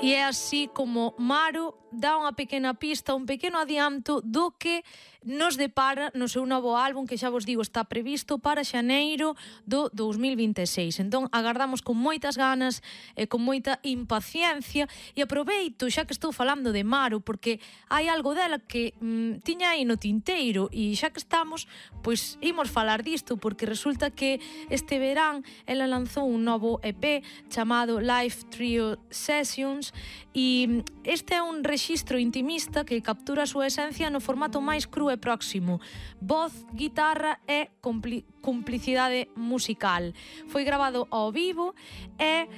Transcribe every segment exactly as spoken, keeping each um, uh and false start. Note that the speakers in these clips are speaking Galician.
E é así como Maro dá unha pequena pista, un pequeno adianto do que nos depara no seu novo álbum, que xa vos digo está previsto para xaneiro do dous mil vinte e seis. Entón agardamos con moitas ganas e con moita impaciencia, e aproveito xa que estou falando de Maro porque hai algo dela que mm, tiña aí no tinteiro, e xa que estamos, pois imos falar disto, porque resulta que este verán ela lanzou un novo E P chamado Live Trio Sessions, e este é un rexistro intimista que captura a súa esencia no formato máis cru e próximo: voz, guitarra e compli complicidade musical. Foi grabado ao vivo e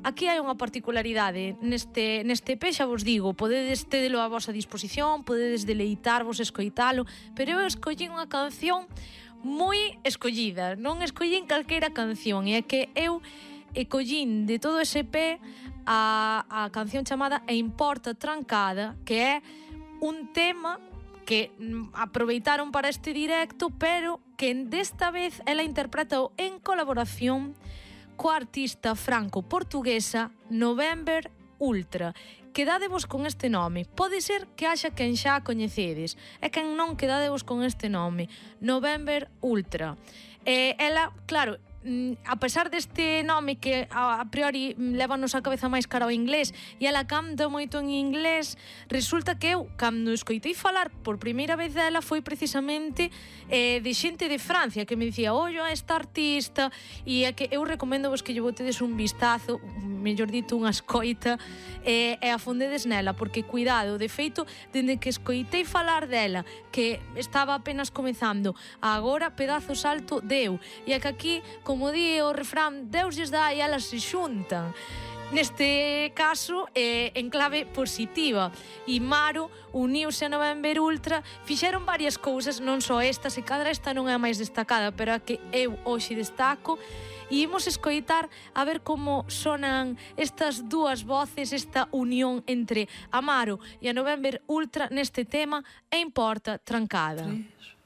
aquí hai unha particularidade neste, neste E P, xa vos digo, podedes tedelo a vosa disposición, podedes deleitarvos, escoitalo, pero eu escollín unha canción moi escollida, non escollín calquera canción, e é que eu e collín de todo ese E P a, a canción chamada E Importa Trancada, que é un tema que mm, aproveitaron para este directo, pero que desta vez ela interpretou en colaboración coa artista franco-portuguesa November Ultra. Quedádevos con este nome. Pode ser que haxa quen xa a coñecedes, e quen non, quedádevos con este nome, November Ultra. E ela, claro, a pesar deste nome que a priori levanos a cabeza máis cara ao inglés, e ela canta moito en inglés, resulta que eu, cando escoitei falar por primeira vez dela, foi precisamente eh, de xente de Francia que me dicía, ollo a esta artista, e é que eu recomendo vos que lle botedes un vistazo, mellor dito unha escoita, e, e afondedes nela, porque cuidado, de feito, dende que escoitei falar dela, que estaba apenas comezando, agora pedazo salto deu, e é que aquí, como di o refrán, Deus lles dá e elas se xuntan. Neste caso, eh, en clave positiva. E Maro uniuse a November Ultra, fixeron varias cousas, non só esta, se cadra esta non é a máis destacada, pero a que eu hoxe destaco, e imos escoitar a ver como sonan estas dúas voces, esta unión entre a Maro e a November Ultra neste tema E Importa Trancada. Tres.